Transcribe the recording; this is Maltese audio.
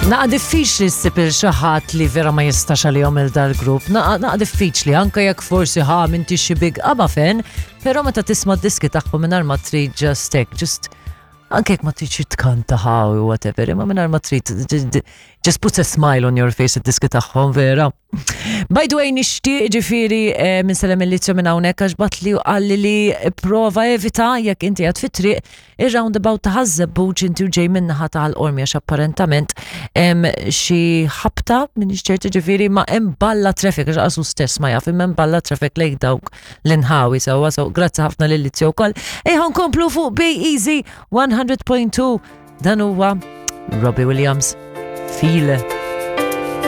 Naqa diffiċli ssib il xi ħadd li vera ma jistax għalihom il dal-grupp. Naqa naqa diffiċli anke jekk forsi ħa m'intix xi big ABBA fan, però meta tisma' d-diski tagħhom mingħajr ma trid just hekk, just anke jekk ma tridx tkanta ħa u whatever, imma mingħajr ma trid just puts a smile on your face id-diski tagħhom vera. By the way, nixtieq ġifieri eh, minn sellem il-lizzju minn hawnhekk għax batli u qalli li prova evita jekk inti għad fit-triq ir-roundabout ta' Ħaż-Żebbuġ inti u ġej min-naħa ta' Ħal Qormi għax apparentament hemm xi ħabta m'iniex ċerta ġifieri ma hemm balla traffic għax qasu stess ma jaf imma hemm balla traffic lejn dawk l-inħawi sewwa so grazzi ħafna lil Lizzio wkoll. Ejja nkomplu fuq Be Easy 100.2 dan huwa Robbie Williams Feel.